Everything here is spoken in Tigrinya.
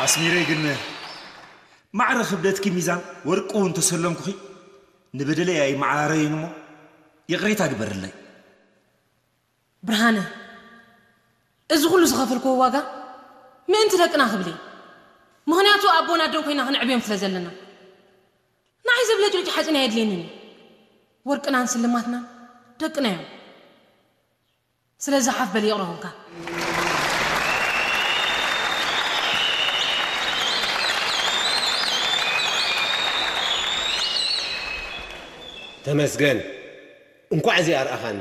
ኣስሚረይ ግን ማዕረ ክብደትኪ ሚዛን ወርቂ እውን ተሰለምኩኺ ንበደለይ ኣይመዓራረይን እሞ ይቕሬታ ግበርለይ። ብርሃነ፣ እዚ ኩሉ ዝኸፈልክዎ ዋጋ ምእንቲ ደቅና ክብል እየ። ምኽንያቱ ኣቦን ኣደን ኮይና ክንዕብዮም ስለ ዘለና። ንዓይ ዘብለጭልጭ ሓፂን ኣየድልየንን እዩ። ወርቅናን ስልማትናን ደቅና እዮም። ስለዚ ሓፍ በል ይቕረቡልካ። ተመስገን እንኳዕ እዚኣ ኣርኣኻኒ።